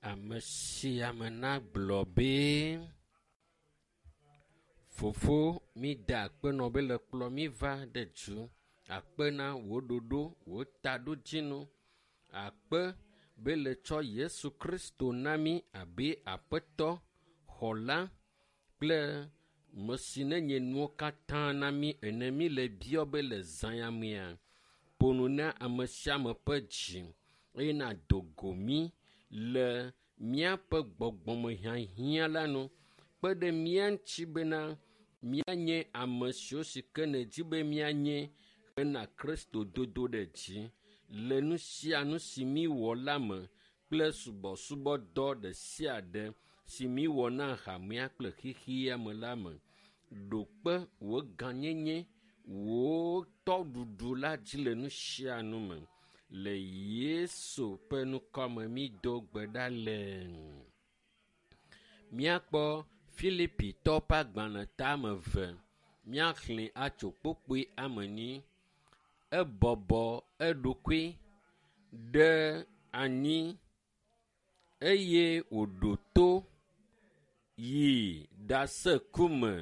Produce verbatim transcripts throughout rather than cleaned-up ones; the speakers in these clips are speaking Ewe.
Ame sia ame nagblɔ be fofo mi da akpe nɔ be le kplɔ mi va ɖe du. Akpe na wò ɖoɖo, wò taɖodzinu. Akpe be le tsɔ Yesu Kristo na mi abe aƒetɔ, xɔla kple me si nenye nuwo katã na mi ene. Mi le biɔ be le zã ya mea, ƒo nu na ame sia ame ƒe dzi eye nàdo go mí le míaƒe gbɔgbɔmehiahiã la nu. Kpe ɖe mía ŋuti bena míanye ame siwo si ke nèdi be míanye hena Kristo dodo ɖe dzi le nu sia nu si míwɔ la me kple subɔsubɔdɔ ɖe sia ɖe si míwɔ na hamea kple xexea me la me. Ɖo kpe wò gãnyenye, wò tɔɖuɖu la dzi le nu sia nu me. Le Yesu ƒe ŋkɔme mído gbe ɖa le. Míakpɔ Filipitɔwo ƒe agbalẽ tame eve. Míaxlẽ atso kpukpui ame enyi. Ebɔbɔ eɖokui ɖe anyi eye wòɖo to yi ɖase ku me,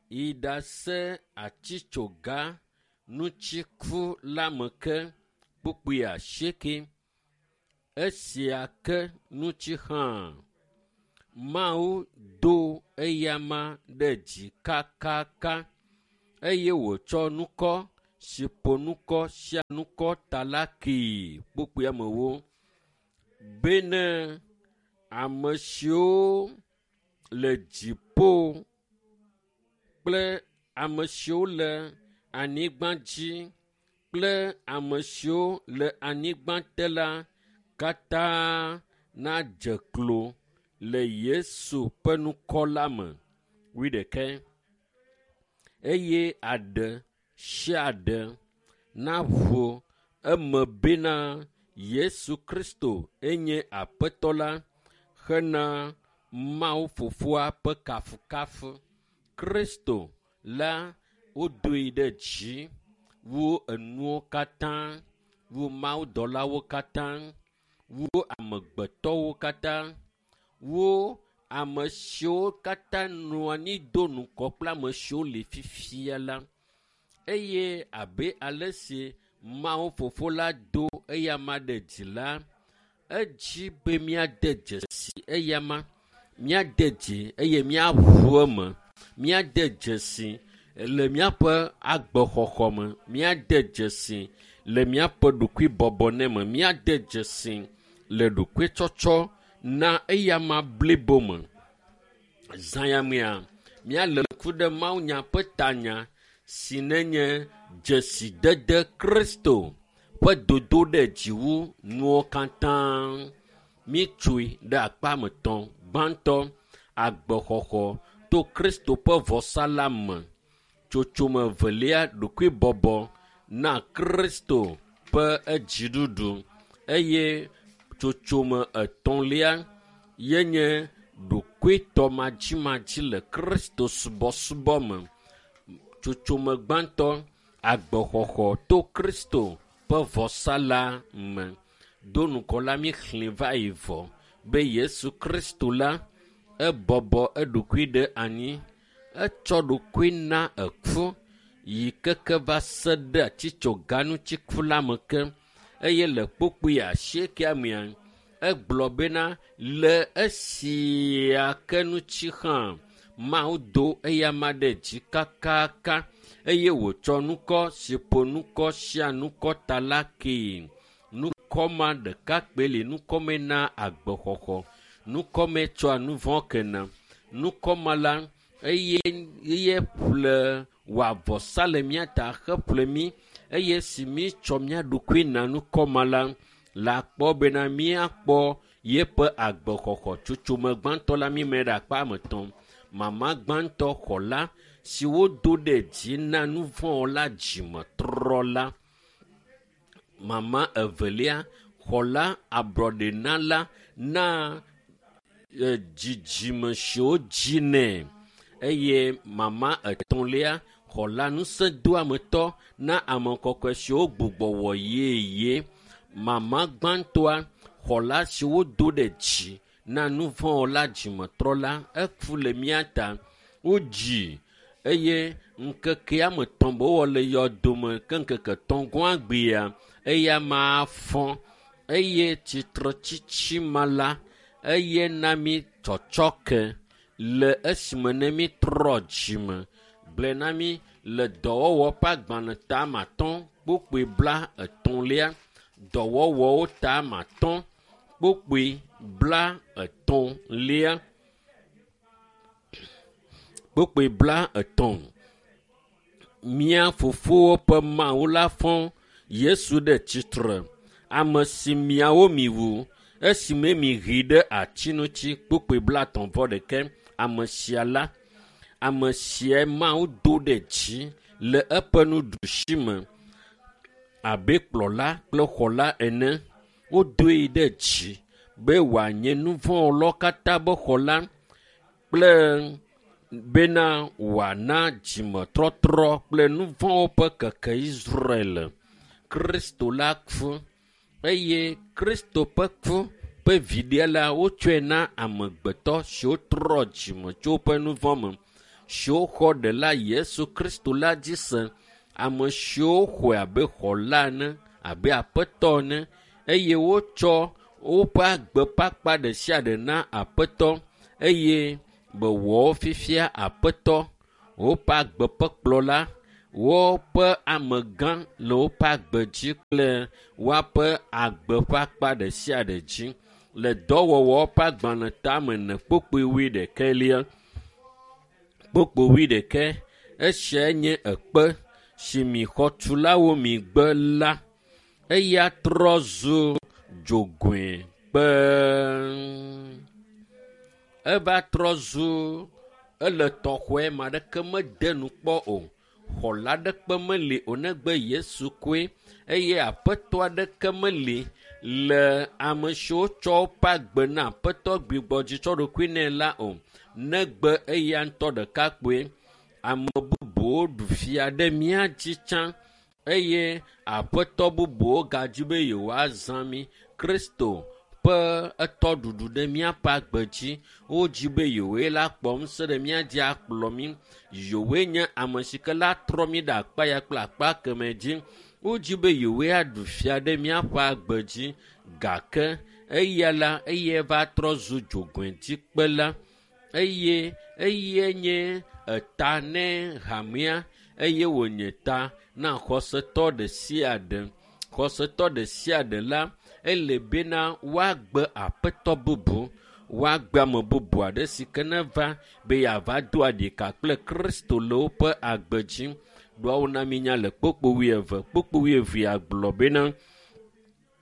yi ɖase atitsoga ŋuti ku la me ke kpukpui asieke. Esia ke ŋuti hã Mawu do eyama ɖe dzi kakaka eye wòtsɔ ŋkɔ si ƒo ŋkɔ sia ŋkɔ ta la kee kpukpui amewo bene ame siwo le dziƒo kple ame siwo le anyigba dzi kple ame siwo le anyigba te la katã nadze klo le Yesu ƒe ŋkɔ la me. Wuiɖekɛ. Eye aɖe sia aɖe naʋu eme bena Yesu Kristo enye Aƒetɔ la hena Mawu Fofoa ƒe kafukafu. Kristo la wodoe ɖe dzi wu enuwo katã, wu mawudɔlawo katã, wu amegbetɔwo katã, wu ame siwo katã nɔ anyi do ŋgɔ kple ame siwo li fifia la. Eye abe ale si Mawu Fofo la do eyama ɖe dzi la, edzi be míade dzesi eyama, míade dzi eye míaʋu eme, míade dzesi le míaƒe agbexɔxɔ me, míade dzesi le míaƒe ɖokuibɔbɔ ne me, míade dzesi le ɖokuitsɔtsɔ na eyama blibo me. Zã ya mea, míalé ŋku ɖe mawunya ƒe tanya si nenye dzesidede Kristo ƒe dodo ɖe dzi wu nuwo katã. Míetsoe ɖe akpa me etɔ̃. Gbãtɔ, agbexɔxɔ to Kristo ƒe vɔsa la me. Tsotsome evelia, ɖokuibɔbɔ na Kristo ƒe edziɖuɖu eye tsotsome etɔ̃lia yenye ɖokuitɔmadzimadzi le Kristo subɔsubɔ me. Tsotsome gbãtɔ, agbexɔxɔ to Kristo ƒe vɔsa la me. Do ŋgɔ la míexlẽ va yi vɔ be Yesu Kristo la ebɔbɔ eɖokui ɖe anyi. Etsɔ ɖokui na eku yi keke va se ɖe atitsoga ŋuti ku la me ke eye le kpukpui asiekea mea, egblɔ bena le esia ke ŋuti hã Mawu do eyama ɖe dzi kakaka eye wòtsɔ ŋkɔ si ƒo ŋkɔ sia ŋkɔ ta la kee. Ŋkɔ ma ɖeka kpoe li, ŋkɔ me na agbexɔxɔ, ŋkɔ me tsɔa nu vɔ̃ kena. Ŋkɔ ma la, eye eye ƒle wɔ avɔsa le mía ta heƒle mí eye si mítsɔ mía ɖokui na ŋkɔ ma la, la kpɔ bena míakpɔ yeƒe agbexɔxɔ. Tsotsome gbãtɔ la míme ɖe akpa ame etɔ̃. Mama gbãtɔ xɔla si wodo ɖe dzi na nu vɔ̃ la dzimetrɔla. Mama evelia xɔla ablɔɖenala na e, dzidzime siwo dzi nɛ eye mama etɔ̃lia xɔla ŋusẽdoametɔ na ame kɔkɔe siwo gbugbɔ wɔ yeye. Mama gbãtɔa Xɔla si wodo ɖe dzi na nuvɔ̃wɔla dzimetrɔla eku le mía ta. Wodzi eye ŋkekea me tɔ̃ be wowɔ le yɔdome ke ŋkeke tɔ̃ gɔ̃ agbea eya ma fɔ eye tsitretsitsi ma la eye na mi tsɔtsɔke le esime ne mi trɔ dzime. Gblɔe na mi le dɔwɔwɔ ƒe agbalẽ ta ame atɔ̃ kpukpui bla etɔ̃lia. Dɔwɔwɔwo ta ame atɔ̃ kpukpui bla etɔ̃lia. Kpukpui bla etɔ̃. Mía fofowo ƒe Mawu la fɔ Yesu ɖe tsitre, ame si miawo miwu esime mihee ɖe ati ŋuti. Kpukpui bla etɔ̃ vɔ ɖeke. Ame sia la, ame sia Mawu do ɖe dzi le eƒe nuɖusi me abe kplɔla kple xɔla ene. Wodoe ɖe dzi be wòanye nuvɔ̃wɔlawo katã be xɔla kple bena wòana dzimetɔtrɔ kple nuvɔ̃wo ƒe keke Israel. Kristo la ku eye Kristo ƒe ku ƒe viɖe la wotsɔe na amegbetɔ siwo trɔ dzime tso woƒe nuvɔ̃ me, siwo xɔ ɖela Yesu Kristo la dzi se, ame siwo xɔe abe xɔla ene, abe aƒetɔ ene eye wotsɔ woƒe agbe ƒe akpa ɖe sia ɖe na aƒetɔ eye be wɔwo fifia aƒetɔ, woƒe agbe ƒe kplɔla, woƒe amegã le woƒe agbe dzi kple woaƒe agbe ƒe akpa ɖe sia ɖe dzi. Le dɔwɔwɔ ƒe agbalẽ tame ene kpukpui wuiɖekɛlia, kpukpui wuiɖekɛ, esiae nye ekpe si mi xɔtulawo mi gbe la, eya trɔ zu dzogoe kpe. Eva trɔ zu ele tɔxɔe ma ɖeke mede nu kpɔ o. Xɔla aɖeke meli o negbe Yesu koe eye aƒetɔ aɖeke meli le ame siwo tsɔ woƒe agbe na aƒetɔ gbigbɔdzi tsɔ ɖokui nɛ la o negbe eya ŋutɔ ɖeka kpoe. Ame bubuwo ɖu fia ɖe mía dzi tsã eye aƒetɔ bubuwo gadzi be yewoazã mí. Kristo ƒe etɔɖuɖu ɖe míaƒe agbe dzi. Wodzi be yewoe la kpɔ ŋusẽ ɖe mía dzi akplɔ mí. Yewoe nye ame si ke la trɔ mí ɖe akpa ya kple akpa kemɛ dzi. Wodzi be yewoe aɖu fia ɖe míaƒe agbe dzi gake eya la eye va trɔ zu dzogoedzikpela eye eye nye eta ne hamea eye wònye ta na xɔsetɔ ɖe sia ɖe. Xɔsetɔ ɖe sia ɖe la ele bena woagbe aƒetɔ bubu, woagbe ame bubu aɖe si ke neva be yeava do aɖika kple Kristo le woƒe agbe dzi. Ɖoawo na mínya le kpukpui wuieve, kpukpui wuievea gblɔ bena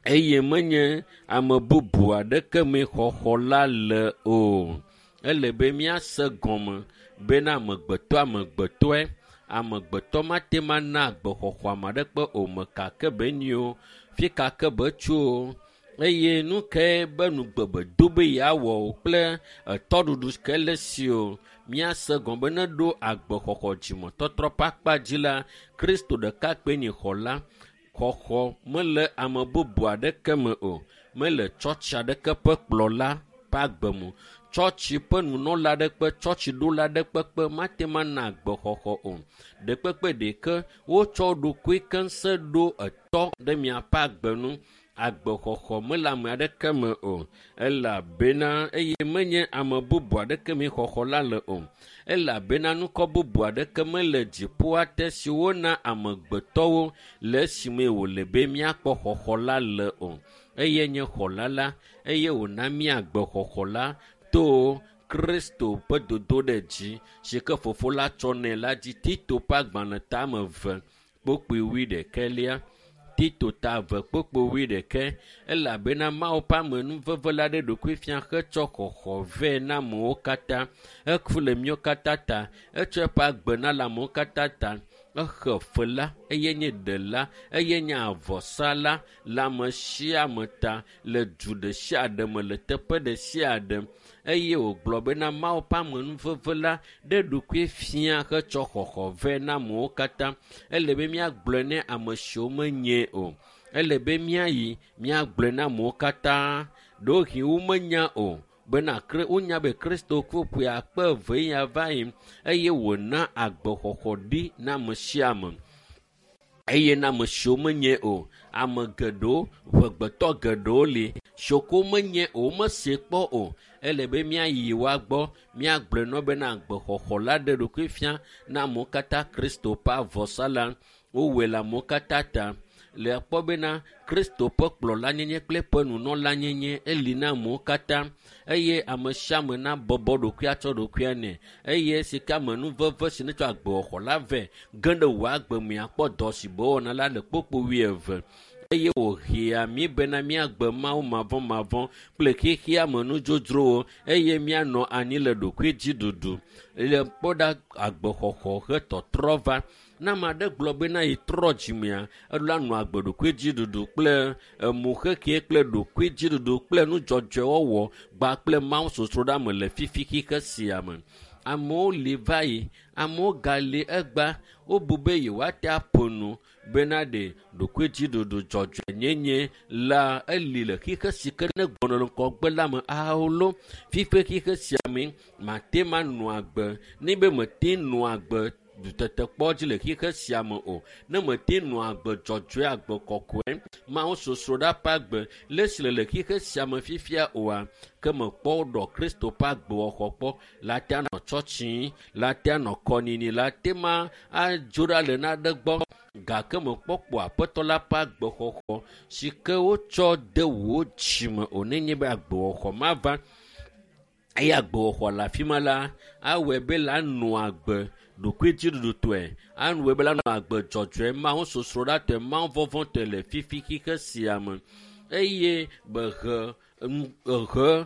eye menye ame bubu aɖeke mee xɔxɔ la le o. Ele be míase gɔme bena amegbetɔ amegbetɔe, amegbetɔ mate ŋu ana agbexɔxɔ ame aɖeke o, meka ke be nyi o, fi ka ke be tso o. Eye nu kae be nugbe be do be yeawɔ o kple etɔɖuɖu ke le si o. Míase gɔme be ne ɖo agbexɔxɔ dzimetɔtrɔ ƒe akpa dzi la, Kristo ɖeka kpoe nye xɔla. Xɔxɔ mele ame bubu aɖeke me o. Mele tsɔtsi aɖeke ƒe kplɔla ƒe agbe me o. Tsɔtsi ƒe nunɔla aɖe tsɔtsiɖola aɖe kpekpe mate ŋu ana agbexɔxɔ o. Ɖekpekpe ɖeke wotsɔ ɖokui keŋ ɖo etɔ ɖe miaƒe agbe nu. Agbexɔxɔ mele ame aɖeke me o elabena eye menye ame bubu aɖeke mee xɔxɔ la le o. Elabena nukɔ bubu aɖeke mele dziƒoa te si wona amegbetɔwo le esime wòle be míakpɔ xɔxɔ la le o. Eye nye xɔla la eye wòna mí agbexɔxɔ la to Kristo ƒe dodo ɖe dzi si ke fofo la tsɔ nɛ la dzi. Tito ƒe agbalẽ tame eve kpukpui wuiɖekɛlia. Tito ta eve kpukpui wuiɖekɛ elabena Mawu ƒe amenuveve la ɖe ɖokui fia hetsɔ xɔxɔ vɛ na amewo katã. Eku le míawo katã ta, etsɔ eƒe agbe na le amewo katã ta. Exe fe la, eye nye ɖela, eye nye avɔsala le ame sia ame ta le du ɖe sia ɖe me le teƒe ɖe sia ɖe. Eye wògblɔ bena Mawu ƒe amenuveve la ɖe ɖokui fia hetsɔ xɔxɔ vɛ na amewo katã. Ele be míagblɔe ne ame siwo menyae o. Ele be míayi míagblɔe na amewo katã. Ɖewohĩ womenya o bena wonya be Kristo ku ƒe akpe eve ya va yi eye wòna agbexɔxɔ ɖi na ame sia ame. Eye na ame siwo menye o, ame geɖewo, ʋegbetɔ geɖewo li siwo ke womenye o, womese kpɔ o. Ele be míayi woa gbɔ, míagblɔe na wo bena agbexɔxɔ la ɖe ɖokui fia na amewo katã Kristo ƒe avɔsa la. Wowɔe le amewo katã ta. Le akpɔ bena Kristo ƒe kplɔlanyenye kple eƒe nunɔlanyenye eli na amewo katã eye ame sia ame nabɔbɔ ɖokuia tsɔ ɖokuia nɛ eye si ke amenuveve si netsɔ agbexɔxɔ la vɛ ge ɖe wò agbe me akpɔ dɔ si be wɔna la le kpokpo wuieve eye wòhea mí bena míagbe Mawu mavɔmavɔ kple xexea me nudzodzrowo eye míanɔ anyi le ɖokuidziɖuɖu. Le kpɔ ɖa agbexɔxɔ he tɔtrɔ va. Ne ame aɖe gblɔ bena yetrɔ dzimea, eɖo anɔ agbe ɖokuidziɖuɖu kple emuxexe kple ɖokuidziɖuɖu kple nudzɔdzɔewɔwɔ gba kple Mawu sosroɖame le fifi xixe sia me. Amewo li va yi, amewo gali egba, wobu be yewoate aƒo nu bena ɖe ɖokuidziɖuɖu dzɔdzɔenyenye la eli le xixe si ke ne gbɔna le ŋgɔgbe la me aolo. Fifi xixe sia me mate ma nɔ agbe ne be mete nɔ agbe tetekpɔ dzi le xixe sia me o. Ne mete nɔ agbe dzɔdzɔe agbe kɔkɔe Mawu sosroɖa ƒe agbe le esi le le xixe sia me fifia oa, ke mekpɔ ɖɔ Kristo ƒe agbewɔxɔ kpɔ la te anɔ tsɔtsi, la te anɔ kɔnini, la te ma adzo ɖa le naɖe gbɔ gake mekpɔ kpɔ aƒetɔ la ƒe agbexɔxɔ si ke wotsɔ de wò dzime o nenye be agbewɔxɔ mava eye agbewɔxɔ le afi ma la awɔe be la nɔ agbe ɖokuidziɖuɖutɔe awɔe be la nɔ agbe dzɔdzɔe Mawu sosroɖatɔe Mawu vɔvɔ̃tɔe le fifi xixe sia me eye behe ehe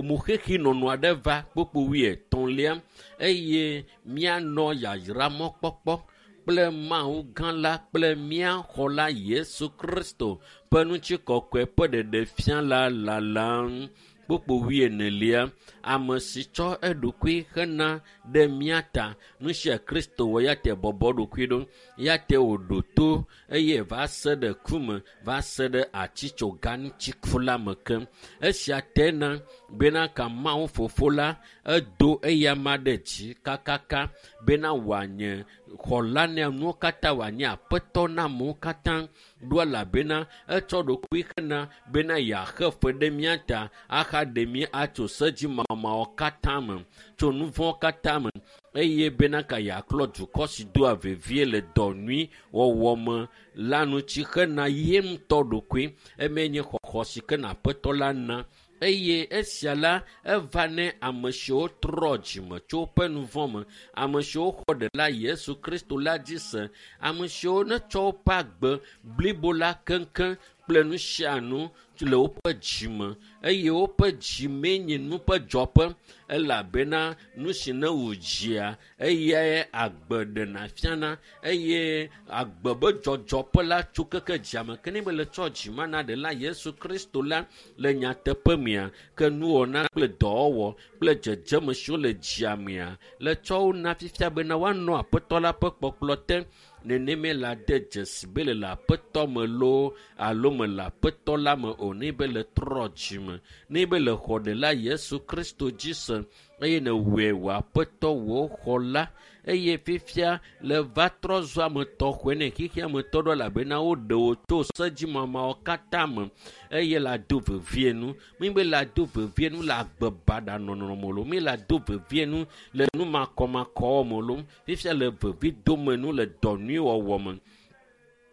muxexi nɔnɔ aɖe va kpokpo wuietɔ̃lia eye míanɔ yayra mɔkpɔkpɔ kple Mawu gã la kple mía xɔla Yesu Kristo ƒe ŋutikɔkɔe ƒe ɖeɖefia la lalam. Kpokpo wuienelia, ame si tsɔ eɖokui hena ɖe mía ta. Nu sia Kristo wɔ ya te bɔbɔ ɖokui ɖo, ya te wòɖo to eye va se ɖe ku me, va se ɖe atitsoga ŋuti ku la me ke. Esia te na bena ka Mawu fofo la edo eyama ɖe dzi kakaka bena wòanye xɔla na nuwo katã, wòanye aƒetɔ na amewo katã ɖo elabena etsɔ ɖokui hena bena yeaxe fe ɖe mía ta ahaɖe mí atso sedzimamawo katã me, tso nu vɔ̃wo katã me eye bena ka yeaklɔ dukɔ si doa vevie le dɔ nyui wɔwɔ me la ŋuti hena ye ŋutɔ ɖokui. Eme nye xɔxɔ si ke na aƒetɔ la na eye esia la eva ne ame siwo trɔ dzime tso woƒe nu vɔ̃ me, ame siwo xɔ ɖela Yesu Kristo la dzi se, ame siwo netsɔ woƒe agbe blibo la keŋkeŋ kple nu sia nu le woƒe dzime eye woƒe dzimee nye nu ƒe dzɔƒe elabena nu si ne wò dzia eyae agbe ɖena fiana eye agbe be dzɔdzɔƒe la tso keke dzia me ke ne be le tsɔ dzima na ɖela Yesu Kristo la le nyateƒe mea ke nuwɔna kple dɔwɔwɔ kple dzedzeme siwo le dzia mea le tsɔ wo na fifia bena woanɔ aƒetɔ la ƒe kpɔkplɔ te. Neneme la de dzesi be le le aƒetɔ me loo alo me le aƒetɔ la me o ne be le trɔ dzime ne be le xɔ ɖela Yesu Kristo dzi se eye nèwɔe wò aƒetɔ wò xɔla eye fifia le va trɔ zu ame tɔxɔe ne xexea me tɔ ɖo elabena woɖe wò tso sedzimamawo katã me eye la do vevie nu. Mi be la do vevie nu le agbe baɖa nɔnɔ me loo, mi la do vevie nu le nu makɔmakɔwɔ me loo, fifia le vevi dome nu le dɔ nyui wɔwɔ me.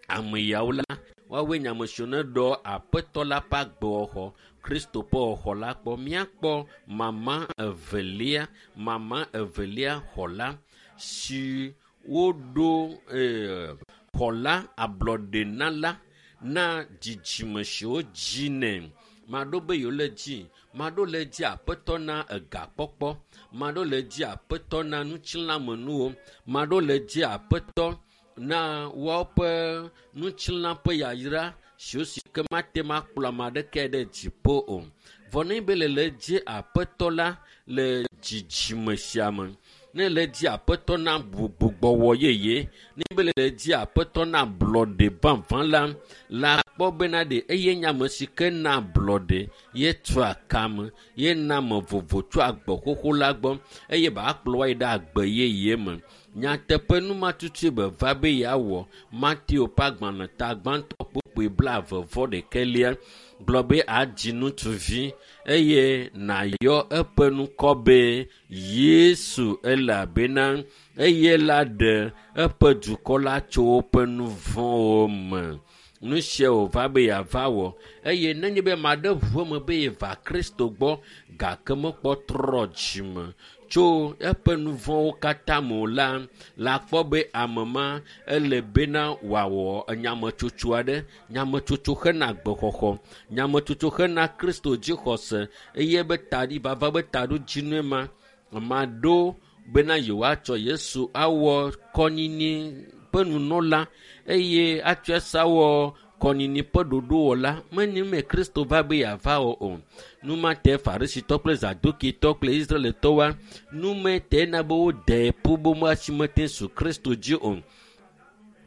Ame yawo la, woawoe nye ame siwo ne ɖɔ aƒetɔ la ƒe agbewɔxɔ, Kristo ƒe xɔxɔ la kpɔ. Míakpɔ mama evelia, mama evelia xɔla si woɖo ee, xɔla ablɔɖenala na dzidzime siwo dzi nɛ. Maɖo be yewo le dzi, maɖo le dzi aƒetɔ na egakpɔkpɔ, maɖo le dzi aƒetɔ na ŋutilãmenuwo, maɖo le dzi aƒetɔ na woaƒe ŋutilã ƒe yayra siwo si ke mate ŋu akplɔ ame aɖeke ɖe dziƒo o. Vɔ ne be le le dzi aƒetɔ la le dzidzime sia me, ne le dzi aƒetɔ na gbugbɔwɔ yeye, ne be le le dzi aƒetɔ na ablɔɖe vavã la, la Kpɔ bena ɖe eye nye ame si ke na ablɔɖe ye tua kame ye na ame vovo tso agbe xoxo la gbɔ eye ba kplɔ wa yi ɖe agbe yeye me. Nyateƒe numatutue be va be yeawɔ. Mateo ƒe agbalẽ ta gbãtɔ kpukpui blaeve vɔ ɖekɛlia gblɔ be adzi ŋutsuvi eye nàyɔ eƒe ŋkɔ be Yesu elabena eye la ɖe eƒe dukɔ la tso woƒe nu vɔ̃wo me. Nu sia wòva be yeava wɔ eye nenye be ame aɖe ʋu eme be yeva Kristo gbɔ gake mekpɔ trɔ dzime tso eƒe nu vɔ̃wo katã me o la, la kpɔ be ame ma ele bena wòawɔ nyametsotso aɖe. Nyametsotso hena agbexɔxɔ, nyametsotso hena Kristo dzixɔse eye be taɖi vava be taɖodzinue ma. Ame aɖewo bena yewoatsɔ Yesu awɔ kɔnyinyi ƒe nunɔla eye atsɔe sa wɔ kɔnyinyi ƒe ɖoɖowɔla. Menye me Kristo va be yeava wɔ o. Numate Farisitɔ kple Zadukitɔ kple Israelitɔwoa, numete na be wode ƒu be woasi su Kristo dzi o.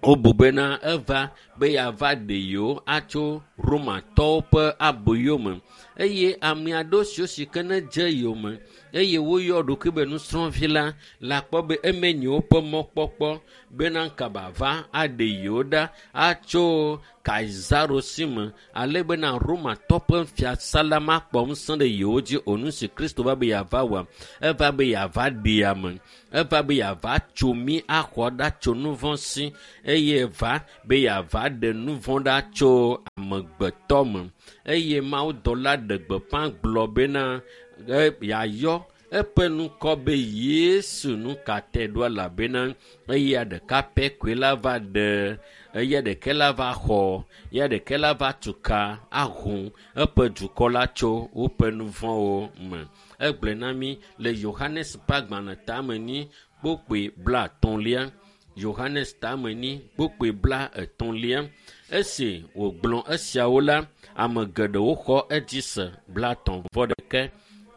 Wobu bena eva be yeava ɖe yewo atso Romatɔwo ƒe aboyo me eye ame aɖewo siwo si ke ne dze yome eye woyɔ ɖokui be nusrɔ̃vi la la kpɔ be eme nye woƒe mɔkpɔkpɔ bena kaba va aɖe yewo ɖa atso Kaisaro si me ale bena Romatɔ ƒe fiasa la makpɔ ŋusẽ ɖe yewo dzi o. Nu si Kristo va be yeava wɔa, eva be yeava ɖe ame, eva be yeava tso mí axɔ ɖa tso nu vɔ̃ si eye va be yeava ɖe nu vɔ̃ ɖa tso amegbetɔ me. Eye Mawudɔla ɖe gbeƒã gblɔ bena yeayɔ eƒe ŋkɔ be Yesu. Nu ka te ɖo elabena eya ɖeka pɛ koe la va ɖe, eya ɖeke la va xɔ, eya ɖeke la va tu ka ahu eƒe dukɔ la tso woƒe nu vɔ̃wo me. Egblɔe na mí le Yohanes ƒe agbalẽ tame nyi kpukpui blaetɔ̃lia. Yohanes tame nyi kpukpui blaetɔ̃lia. Esi wògblɔ esiawo la, ame geɖewo xɔ edzi se. Blaetɔ̃ vɔ ɖeke.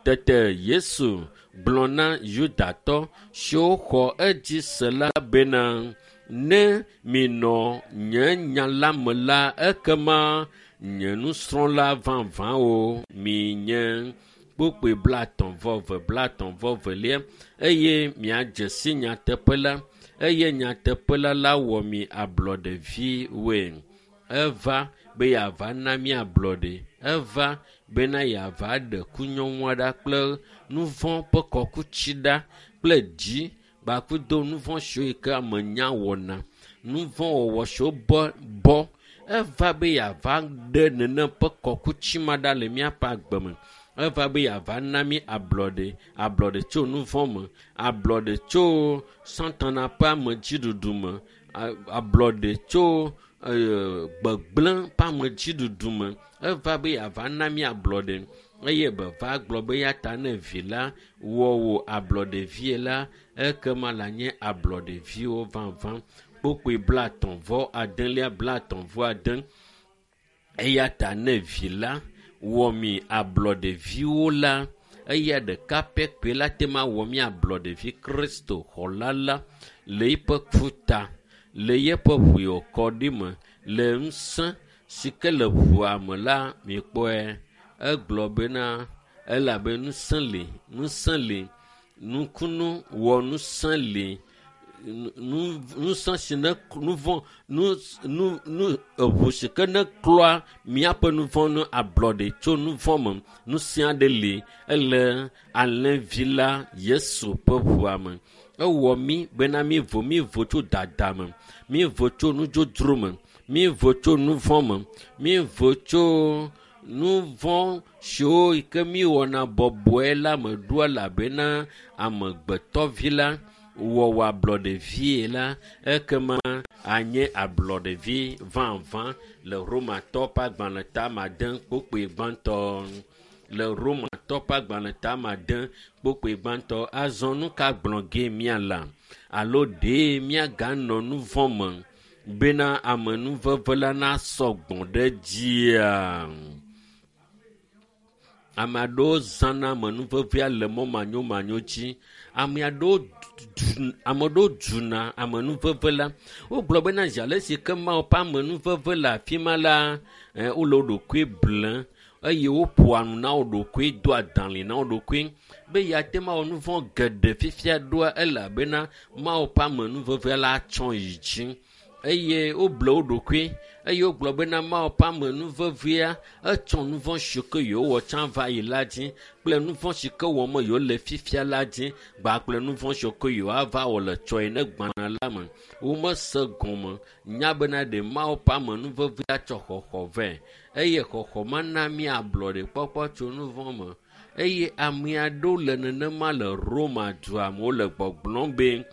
Tete Yesu gblɔ na Yudatɔ siwo xɔ edzi se la bena, ne minɔ nye nya la me la, ekema nye nusrɔ̃la vavãwo minye. Kpukpui blaetɔ̃ vɔ eve, blaetɔ̃ vɔ evelia. Eye miadze si nyateƒe la, eye nyateƒe la la wɔ mi ablɔɖeviwoe. Eva be yeava na mí ablɔɖe. Eva bena yeava ɖe kunyɔŋua ɖa kple nu vɔ̃ ƒe kɔkutsi ɖa kple dzi kpakudo nu vɔ̃ siwo yi ke ame nya wɔna, nu vɔ̃ wɔwɔ siwo bɔ bɔ. Eva be yeava ɖe nenem ƒe kɔkutsi ma ɖa le míaƒe agbe me. Eva be yeava na mí ablɔɖe, ablɔɖe tso nu vɔ̃ me, ablɔɖe tso Satana ƒe amedziɖuɖu me, ablɔɖe tso gbegblẽ ƒe amedziɖuɖu me. Eva be yeava na mí ablɔɖe eye be va gblɔ be ya ta ne vi la wɔ wò ablɔɖevie la, ekema la nye ablɔɖeviwo vavã. Kpukpui blaetɔ̃ vɔ adelia, blaetɔ̃ vɔ ade. Eya ta ne vi la wɔ mi ablɔɖeviwo la, eya ɖeka pɛ koe la te ma wɔ mi ablɔɖevi Kristo xɔla la le eƒe ku ta, le yeƒe ʋu yi wòkɔ ɖi me, le ŋusẽ si ke le ʋua me la, mikpɔe. Egblɔ bena elabe ŋusẽ li, ŋusẽ li, nukunu wɔ ŋusẽ li, ŋusẽ si ne nu vɔ̃, nu, nu, nu, eʋu si ke ne klɔa míaƒe nu vɔ̃ nu ablɔɖe tso nu vɔ̃ me. Ŋusẽ aɖe li, ele alẽvi la Yesu ƒe ʋua me. Ewɔ mí bena mívo, mívo tso dada me, mívo tso nudzodzro me, mívo tso nu vɔ̃ me, mívo tso nu vɔ̃ siwo yi ke míwɔna bɔbɔe la me ɖo elabena amegbetɔvi la wɔwɔ ablɔɖevie la, ekema anye ablɔɖevi vavã le Romatɔ ƒe agbalẽ tame ade kpukpui gbãtɔ. Le Romatɔ ƒe agbalẽ tame ade kpukpui gbãtɔ. Azɔ nu ka gblɔ ge míala? Alo ɖe míaganɔ nu vɔ̃ me bena amenuveve la nasɔ gbɔ ɖe dzia? Ame aɖewo zãna amenuvevea le mɔ manyomanyo dzi. Ame aɖewo ame ɖewo dzuna amenuveve la. Wogblɔ bena zi ale si ke Mawu ƒe amenuveve le afi ma la, wole wo ɖokui blem eye woƒoa nu na wo ɖokui, doa dalĩ na wo ɖokui be yeate ŋu awɔ nu vɔ̃ geɖe fifia ɖoa elabena Mawu ƒe amenuveve la tsɔ yi dzi. Eye woble wo ɖokui eye wogblɔ bena Mawu ƒe amenuvevea etsɔ nu vɔ̃ si ke yewowɔ tsã va yi la dzi kple nu vɔ̃ si ke wɔm yewole fifia la dzi kpakple nu vɔ̃ si ke yewoava wɔ le tsɔ yi ne gbana la me. Womese gɔme nya bena ɖe Mawu ƒe amenuvevea tsɔ xɔxɔ vɛ eye xɔxɔ ma na mí ablɔɖekpɔkpɔ tso nu vɔ̃ me. Eye ame aɖewo le nenema le Roma dua me wole gbɔgblɔm be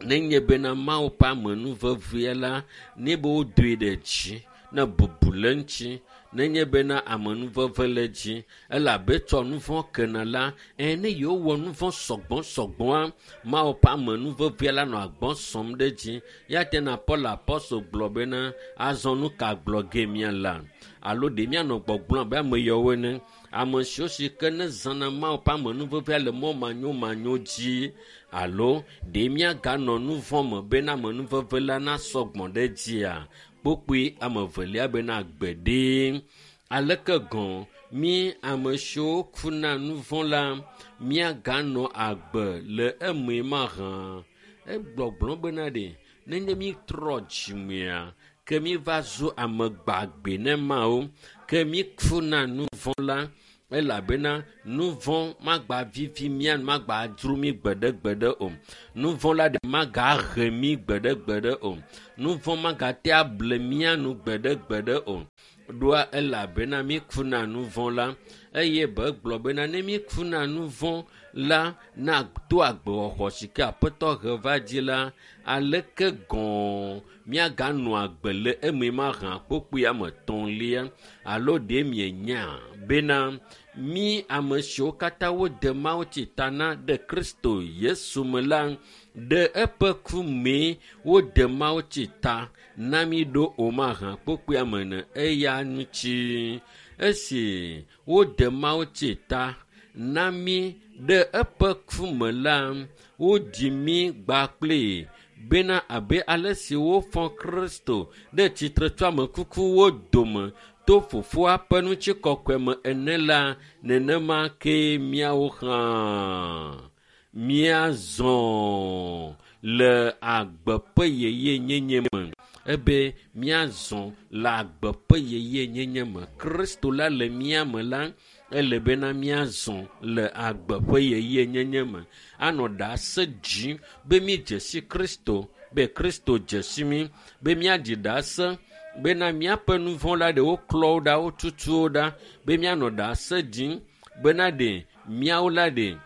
nenye bena Mawu ƒe amenuvevea la, ne be wodoe ɖe dzi, ne bubu le eŋuti, nenye bena amenuveve le dzi, elabe tsɔ nu vɔ̃ kena la, ɛ ne yewowɔ nu vɔ̃ sɔgbɔ sɔgbɔa, Mawu ƒe amenuvevea la nɔ agbɔ sɔm ɖe dzi. Ya te na Paul Apostol gblɔ bena azɔ nu ka gblɔ ge míala? Alo ɖe míanɔ gbɔgblɔm abe ame yawo ene? Ame siwo si ke ne zãna Mawu ƒe amenuvevea le mɔ manyomanyo dzi alo ɖe míaganɔ nu vɔ̃ me bena amenuveve la nasɔ gbɔ ɖe dzia? Kpokpui ame evelia bena gbeɖe. Aleke gɔ̃ mí ame siwo kuna nu vɔ̃ la míaganɔ agbe le eme mahã? Egbɔgblɔ bena ɖe nenye mí trɔ dzimea ke mí va zu ame gbagbe ne Mawu ke mí kuna nu vɔ̃ la elabena nu vɔ̃ magba vivi mía nu magba dzro mí gbeɖegbeɖe o. Nu vɔ̃ la ɖe magahe mí gbeɖegbeɖe o. Nu vɔ̃ magate able mía nu gbeɖegbeɖe o. Ɖoa elabena mí kuna nu vɔ̃ la eye be gblɔ bena ne mí kuna nu vɔ̃ la na to agbewɔxɔ si ke Aƒetɔ he va dzi la, aleke gɔ̃ míaganɔ agbe le eme mahã kpokpui ame etɔ̃lia? Alo ɖe mienya bena mí ame siwo katã wode mawutsi ta na ɖe Kristo Yesu me la, ɖe eƒe ku mee wode mawutsi ta na mí ɖo o mahã kpokpui ame ene eya ŋuti. Esi wode mawutsi ta na mí ɖe eƒe ku me la, woɖi mí gbakpli bena abe ale si wofɔ Kristo ɖe tsitre tso ame kukuwo dome to fofoa ƒe ŋutikɔkɔe me ene la, nenema ke míawo hã míazɔ le agbe ƒe yeyenyenye me. Ebe míazɔ le agbe ƒe yeyenyenye me. Kristo la le mía me la, ele bena míazɔ le agbe ƒe yeyenyenye me. Anɔ ɖase dzi be mídze si Kristo, be Kristo dze si mí, be míadzi ɖase bena míaƒe nu vɔ̃ la ɖe woklɔ wo ɖa, wotutu wo ɖa, be míanɔ ɖase dzim bena ɖe míawo la ɖe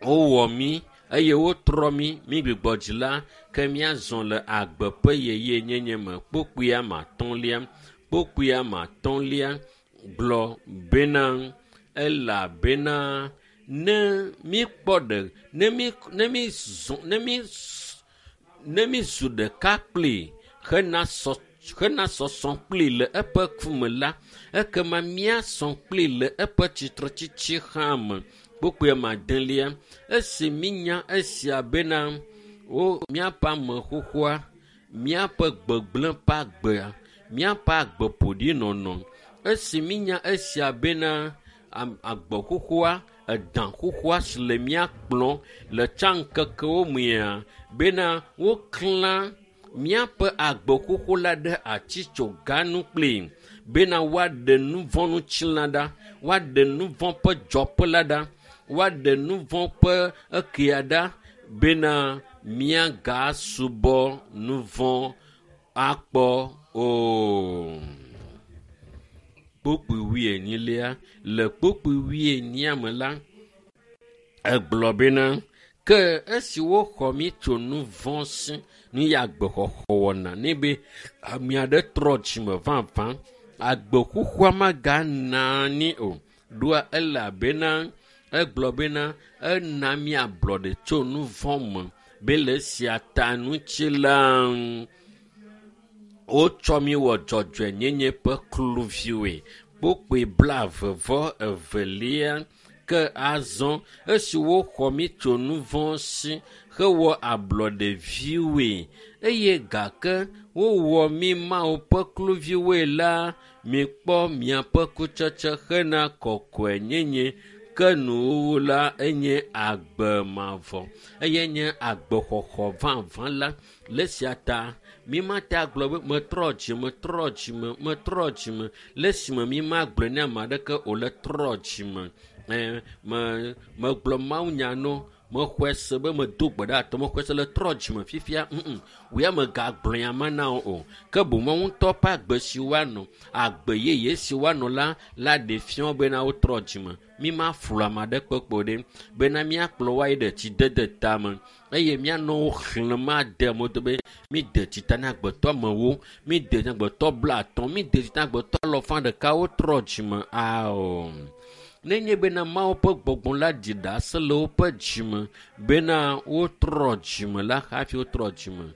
wowɔ mí eye wotrɔ mí, mí gbugbɔ dzi la, ke míazɔ le agbe ƒe yeyenyenye me. Kpokpui ame atɔ̃lia, kpokpui ame atɔ̃lia gblɔ bena elabena ne míkpɔ ɖe, ne mí, ne mí zɔ, ne mí, ne mí zu ɖeka kpli hena sɔ, hena sɔsɔ kpli le eƒe ku me la, ekema míasɔ kpli le eƒe tsitretsitsi hã me. Kpokpui ame adelia, esi mínya esia bena wo míaƒe ame xoxoa, míaƒe gbegblẽ ƒe agbea, míaƒe agbe ƒoɖi nɔnɔ. Esi mínya esia bena agbe xoxoa, edã xoxoa si le mía kplɔm le tsã ŋkekewo mea, bena woklã míaƒe agbe xoxo la ɖe atitsoga nu kpli bena woaɖe nu vɔ̃ ŋutilã ɖa, woaɖe nu vɔ̃ ƒe dzɔƒe la ɖa, woaɖe nu vɔ̃ ƒe ekea ɖa bena míagasubɔ nu vɔ̃ akpɔ o. Kpokpui wuienyilia, le kpokpui wuienyia me la, egblɔ bena ke esi woxɔ mí tso nu vɔ̃ si, nu ya agbexɔxɔ wɔna ne be ame aɖe trɔ dzime vavã, agbe xoxoa magana anyi o. Ɖoa elabena egblɔ bena ena mí ablɔɖe tso nu vɔ̃ me be le esia ta ŋuti la, wotsɔ mí wɔ dzɔdzɔenyenye ƒe kluviwoe. Kpokpui blaeve vɔ evelia Ke azɔ esi woxɔ mí tso nu vɔ̃ si hewɔ ablɔɖeviwoe eye gake wowɔ mí Mawu ƒe kluviwoe la, mikpɔ miaƒe kutsetse hena kɔkɔenyenye. Ke nuwuwu la enye agbe mavɔ eye nye agbexɔxɔ vavã la. Le esia ta mi mate agblɔ be metrɔ dzime, trɔ dzime, metrɔ dzime. Le esime mi magblɔe ne ame aɖeke o le trɔ dzime. Ɛ me megblɔ mawunya no mexɔe se be medo gbe ɖe atɔ mexɔe se le trɔ dzime fifia ŋu wòya megagblɔ nya ma na wo o. Ke boŋ woawo ŋutɔ ƒe agbe si woanɔ, agbe yeye si woanɔ la la ɖe fia wo bena wotrɔ dzime. Mi maflu ame aɖe kpekpe ɖe bena míakplɔ wo ayi ɖe tsidede tame eye míanɔ wo xlẽm ade mo do be míde tsi ta na agbetɔ amewo, míde na agbetɔ blaatɔ̃, míde tsi ta na agbetɔ alafa ɖeka wotrɔ dzime ao. Nenye bena Mawu ƒe gbɔgbɔ la ɖi ɖase le woƒe dzime bena wotrɔ dzime la hafi wotrɔ dzime.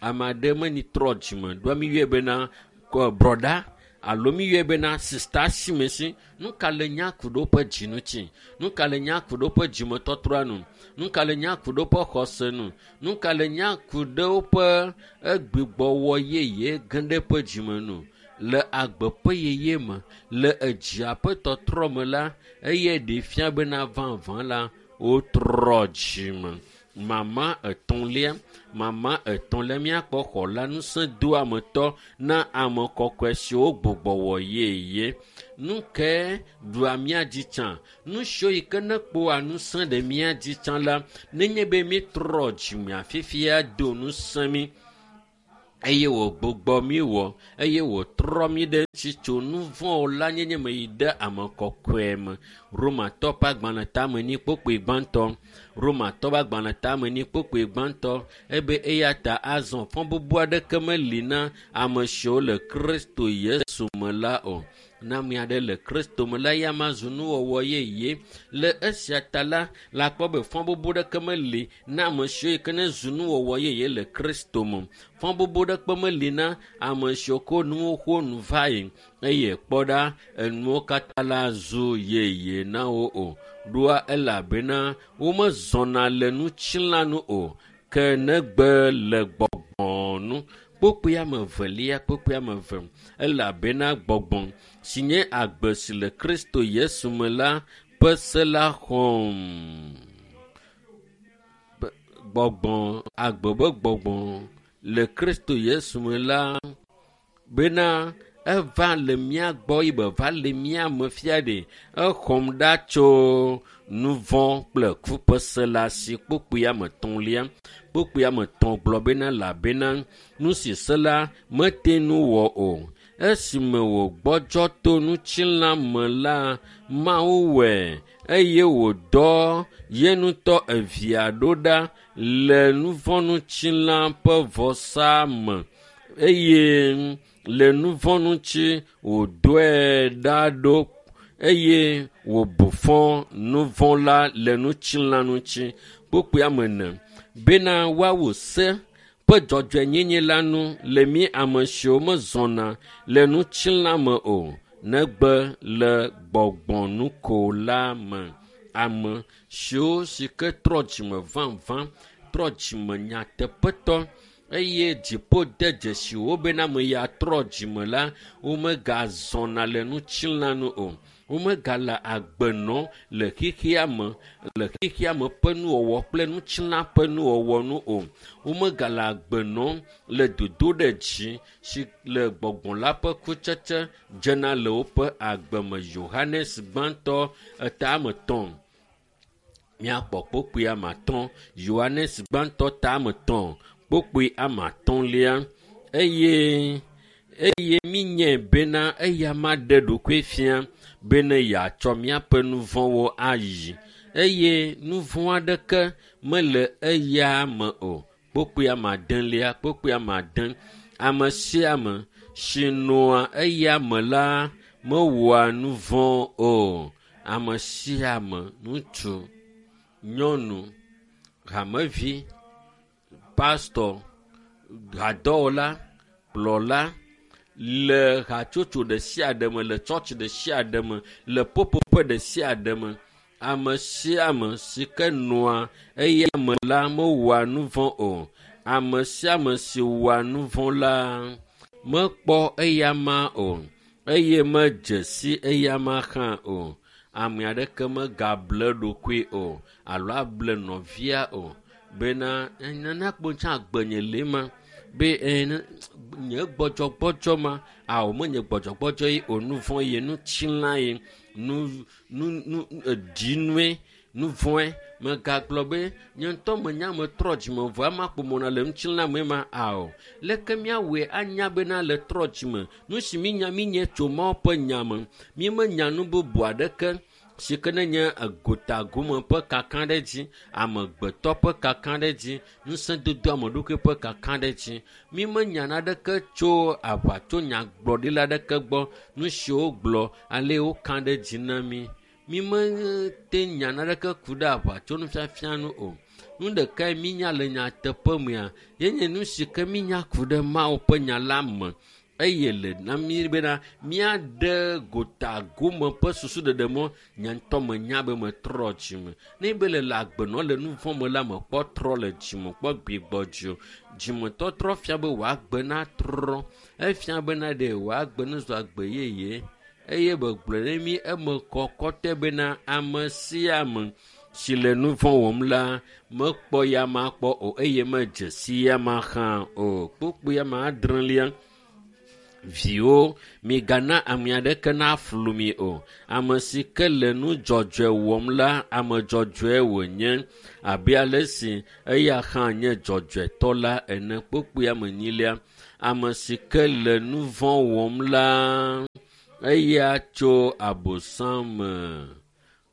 Ame aɖe meni trɔ dzime ɖoa mi yɔe bena brɔda alo mi yɔe bena sista simesi. Nu ka le nya ku ɖe woƒe dzi ŋuti? Nu ka le nya ku ɖe woƒe dzimetɔtrɔa nu? Nu ka le nya ku ɖe woƒe xɔse nu? Nu ka le nya ku ɖe woƒe egbigbɔwɔ yeye ge ɖe eƒe dzime nu? Le agbe ƒe yeye me, le edzia ƒe tɔtrɔ me la, eye ɖe fia bena vavã la, wotrɔ dzime. Mama etɔ̃lia, mama etɔ̃lia míakpɔ xɔla ŋusẽdoametɔ na ame kɔkɔe siwo gbugbɔ wɔ yeye. Nu ke ɖua mía dzi tsã? Nu siwo yi ke ne kpɔa ŋusẽ ɖe mía dzi tsã la, nenye be mítrɔ dzimea fifia do ŋusẽ mí eye wògbugbɔ mí wɔ eye wòtrɔ mí ɖe ŋuti tso nu vɔ̃wo la nyenye me yi ɖe ame kɔkɔe me. Romatɔ ƒe agbalẽ tame ni kpokpoe gbãtɔ. Romatɔ ƒe agbalẽ tame ni kpokpoe gbãtɔ ebe eya ta azɔ fɔ bubu aɖeke meli na ame siwo le Kristo Yesu me la o. Na ame aɖe le Kristo me la, ya ma zu nuwɔwɔ yeye. Le esia ta la, la kpɔ be fɔ bubu ɖeke meli na ame siwo yi ke ne zu nuwɔwɔ yeye le Kristo me. Fɔ bubu ɖeke meli na ame siwo ko nuwo xo nu va yi eye kpɔ ɖa enuwo katã la zu yeye na wo o. Ɖoa elabena womezɔna le ŋutilã nu o, ke negbe le gbɔgbɔ nu. Kpokpoe ame evelia, kpokpoe ame eve elabena gbɔgbɔ si nye agbe si le Kristo Yesu me la ƒe se la xɔm. Gbɔgbɔ, agbe be gbɔgbɔ le Kristo Yesu me la bena eva le mía gbɔ yi be va le mía me fia ɖe exɔm ɖa tso nu vɔ̃ kple ku ƒe se la si. Kpokpoe ame etɔ̃lia, kpokpoe ame etɔ̃ gblɔ bena elabena nu si se la mete nu wɔ o. Esime wògbɔdzɔ to ŋutilã me la, Mawu wɔe eye wòdɔ ye ŋutɔ evia ɖo ɖa le nu vɔ̃ ŋutilã ƒe vɔsa me eye le nu vɔ̃ ŋuti wòdɔe ɖa ɖo eye wòbu fɔ nu vɔ̃ la le ŋutilã ŋuti. Kpokpoe ame ene bena woawu se ƒe dzɔdzɔenyenye la nu le mí ame siwo mezɔna le ŋutilã me o, negbe le gbɔgbɔ nu ko la me. Ame siwo si ke trɔ dzime vavã, trɔ dzime nyateƒetɔ eye dziƒo de dzesi wo bena ame ya trɔ dzime la, womegazɔna le ŋutilã nu o. Womegale agbe nɔm le xexea me, le xexea me ƒe nuwɔwɔ kple ŋutilã ƒe nuwɔwɔ nu o. Womegale agbe nɔm le dodoɖedzi si le gbɔgbɔ la ƒe kutsetse dzena le woƒe agbe me. Yohanes gbãtɔ eta ame etɔ̃. Míakpɔ kpokpoe ame atɔ̃. Yohanes gbãtɔ ta ame etɔ̃ kpokpoe ame atɔ̃lia eye eye mínyae bena eya ma ɖe ɖokui fia bene yeatsɔ míaƒe nu vɔ̃wo ayi eye nu vɔ̃ aɖeke mele eya me o. Kpokpoe ame adelia, kpokpoe ame ade. Ame sia ame si nɔa eya me la mewɔa nu vɔ̃ o. Ame sia ame, ŋutsu, nyɔnu, hamevi, pastɔ, hadɔwɔla, kplɔla le hatsotso ɖe sia ɖe me, le tsɔtsi ɖe sia ɖe me, le popoƒe ɖe sia ɖe me. Ame sia ame si ke nɔa eya me la mewɔa nu vɔ̃ o. Ame sia ame si wɔa nu vɔ̃ la mekpɔ eyama o eye medze si eyama hã o. Ame aɖeke megable ɖokui o alo able nɔvia o bena nana kpo tsã agbenye le ma be nye gbɔdzɔgbɔdzɔ ma awo menye gbɔdzɔgbɔdzɔ ye o nu vɔ̃ ye nu tsila ye nu nu nu edinue nu vɔ̃e megagblɔ be nye ŋutɔ menya metrɔ dzime vɔ ama kpomɔna le ŋutilã me ma ao leke míawɔe anya bena le trɔ dzime nu si mínya mínye tso Mawu ƒe nya me mímenya nu bubu aɖeke si ke ne nye egotagome ƒe kaka ɖe dzi amegbetɔ ƒe kaka ɖe dzi ŋusẽdodo ame ɖokui ƒe kaka ɖe dzi mímenya naneke tso aʋatso nyagblɔɖila aɖeke gbɔ nu siwo gblɔ ale woka ɖe dzi na mí mímete nya naneke ku ɖe aʋatso nufiafia nu o nu ɖekae mínya le nyateƒe mea yenye nu si ke mínya ku ɖe Mawu ƒe nya la me eye le na mí bena míaɖe gotagome ƒe susuɖeɖe mɔ nye ŋutɔ menya be metrɔ dzime ne be le le agbenɔ le nu vɔ̃ me la mekpɔ trɔ le dzime kpɔ gbigbɔ dzi o dzimetɔtrɔ fia be wòagbe na trɔ efia bena ɖe wòagbe ne zu agbe yeye eye begblɔe ne mí eme kɔ kɔtɔe bena ame sia ame si le nu vɔ̃ wɔm la mekpɔ ya ma kpɔ o eye medze si ya ma hã o kpukpui ame adrelia viwo migana ame aɖeke naflu mi o ame si ke le nu dzɔdzɔe wɔm la ame dzɔdzɔe wònye abe ale si eya hã nye dzɔdzɔetɔ la ene kpukpui ame enyilia ame si ke le nu vɔ̃ wɔm la eya tso abosam me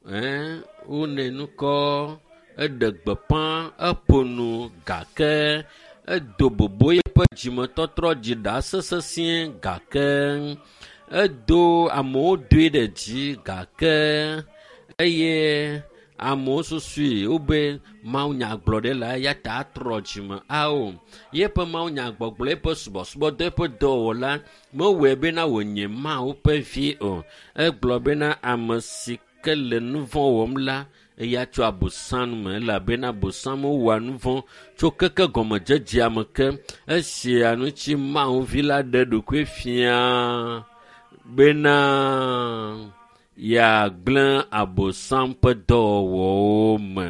ɛn wone nukɔ eɖe gbeƒã eƒo nu gake edo bobo eƒe dzimetɔtrɔ dzi ɖase sesĩe gake edo amewo doe ɖe dzi gake eye amewo susui wobe mawunyagblɔɖila eya ta atrɔ dzime ao yeƒe mawunyagbɔgblɔ eƒe subɔsubɔdɔ eƒe dɔwɔla mewɔe bena wònye Mawu ƒe vi o egblɔ bena ame si ke le nu vɔ̃ wɔm la eya tso abosam me elabena abosam wɔa nu vɔ̃ tso keke gɔmedzedzea me ke esia ŋuti Mawu vi la ɖe ɖokui fia bena yeagblẽ abosam ƒe dɔwɔwɔwo me.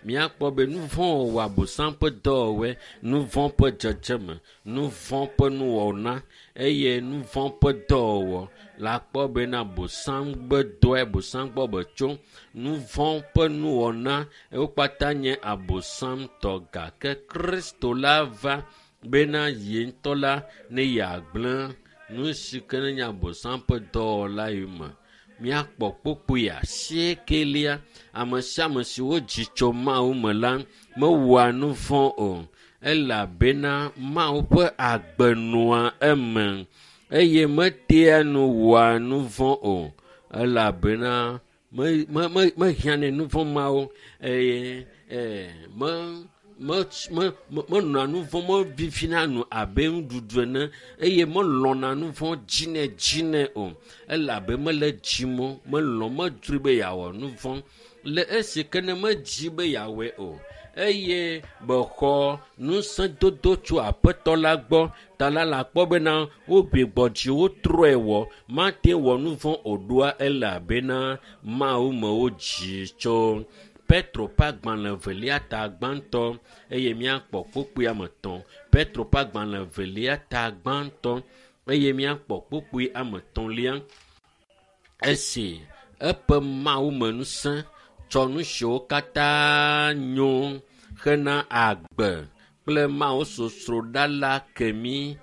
Míakpɔ be nu vɔ̃ wɔwɔ abosam ƒe dɔwɔwɔe, nu vɔ̃ ƒe dzedzeme, nu vɔ̃ ƒe nuwɔna eye nu vɔ̃ ƒe dɔwɔwɔ la kpɔ bena abosam ƒe dɔe abosam gbɔ be tso nu vɔ̃ ƒe nuwɔna wo kpata nye abosam tɔ gake Kristo la va bena ye ŋutɔ la ne yeagblẽ nu si ke ne nye abosam ƒe dɔwɔla yi me. Míakpɔ kpukpui asiekelia ame sia ame si wodzi tso Mawu me la mewɔa nu vɔ̃ o elabena Mawu ƒe agbe nɔa eme eye metea nu wɔa nu vɔ̃ o elabena me me me mehiãnɛ nu vɔ̃ mawo eye ee me me me menɔa nu vɔ̃ mevivina nu abe nuɖuɖu ene eye melɔ̃na nu vɔ̃ dzinɛ dzinɛ o elabe mele dzim o melɔ̃ medzroe be yeawɔ nu vɔ̃ le esi ke ne medzi be yeawɔe o eye bexɔ ŋusẽdodo tso aƒetɔ la gbɔ ta la la kpɔ bena wogbigbɔ dzi wotrɔe wɔ mate wɔ nu vɔ̃ o ɖoa elabena Mawu me wodzi tso. Petro ƒe agbalẽ evelia ta gbãtɔ eye míakpɔ kpukpui ame etɔ̃. Petro ƒe agbalẽ evelia ta gbãtɔ eye míakpɔ kpukpui ame etɔ̃lia. Esi eƒe Mawu me ŋusẽ tsɔ nu siwo katã nyo hena agbe kple Mawu sosroɖa la ke mí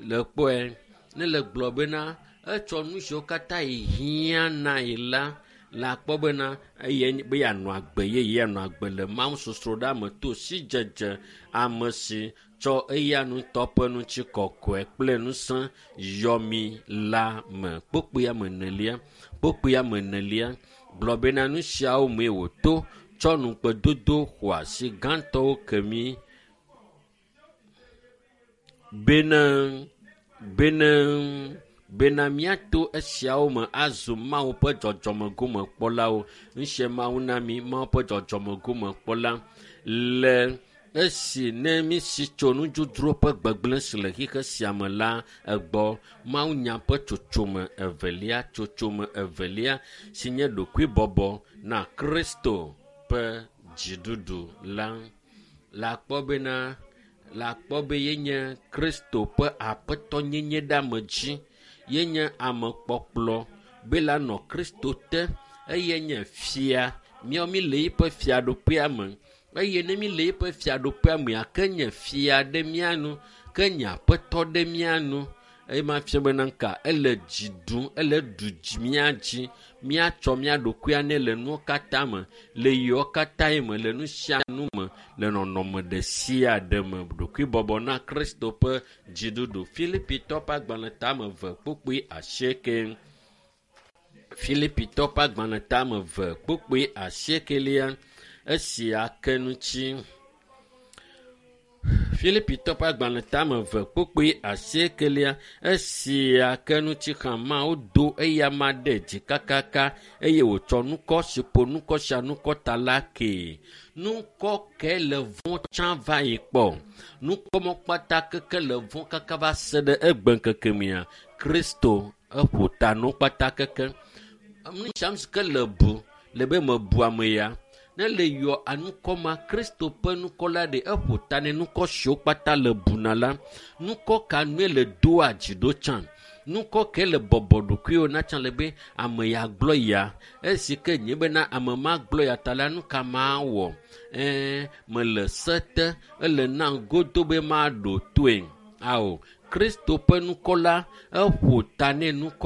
le kpɔe ne le gblɔ bena etsɔ nu siwo katã hiã na yi la la kpɔ bena eye be yeanɔ agbe yeye yeanɔ agbe le Mawu sosroɖa me to sidzedze ame si tsɔ eya ŋutɔ ƒe ŋutikɔkɔe kple ŋusẽ yɔ mí la me. Kpukpui ame enelia kpukpui ame enelia gblɔ bena nu siawo mee wòto tsɔ nukpedodo xɔasi gãtɔwo ke mí bena bena Bena míato esiawo me azu Mawu ƒe dzɔdzɔmegomekpɔlawo. Ŋusie Mawu na mí Mawu ƒe dzɔdzɔmegomekpɔla le esi ne mísi tso nudzodzro ƒe gbegblẽ si le xixe sia me la egbɔ. Mawunya ƒe tsotsome evelia, tsotsome evelia si nye ɖokuibɔbɔ na Kristo ƒe dziɖuɖu la. Le akpɔ bena le akpɔ be yenye Kristo ƒe aƒetɔnyenye ɖe ame dzi. Yenye amekpɔkplɔ be la nɔ Kristo te eye nye fia. Míawo mi le eƒe fiaɖuƒea me eye ne mi le eƒe fiaɖuƒea mea ke nye fia ɖe mía nu, ke nye aƒetɔ ɖe mía nu. Eye ma fia bena nka ele dzi ɖum, ele ɖu dzi mía dzi. Míatsɔ mía ɖokuia nɛ le nuwo katã me, le yiwo katã me, le nu sia nu me, le nɔnɔme ɖe sia ɖe me. Ɖokuibɔbɔ na Kristo ƒe dziɖuɖu. Filipitɔ ƒe agbalẽ tame eve kpukpui asieke. Filipitɔ ƒe agbalẽ tame eve kpukpui asiekelia esia ke ŋuti. Filipitɔ ƒe agbalẽ tame eve kpukpui asiekelia esia ke ŋuti hã Mawu do eyama ɖe dzi kakaka eye wòtsɔ nukɔ si ƒo nukɔ sia nukɔ ta la kee. Nukɔ ke le vɔ̃ tsã va yi kpɔ. Nukpɔmɔ kpata keke le vɔ̃ kaka va se ɖe egbe ŋkeke mea. Kristo eƒo ta nu kpata keke. Nu sia si ke le bu le be mebu ame ya. Ne le yɔ anukɔ ma Kristo ƒe nukɔ la ɖe eƒo ta ne nukɔ siwo kpata le buna la. Nukɔ ka nue le doa dzi ɖo tsã. Nukɔ ke le bɔbɔ ɖokuiwo na tsã le be ame ya gblɔ ya. Esi ke nye bena ame ma gblɔ ya ta la nu ka ma wɔ. Ɛɛ mele se te ele nam godo be maɖo toe. Ao Kristo ƒe nukɔ la eƒo ta ne nukɔ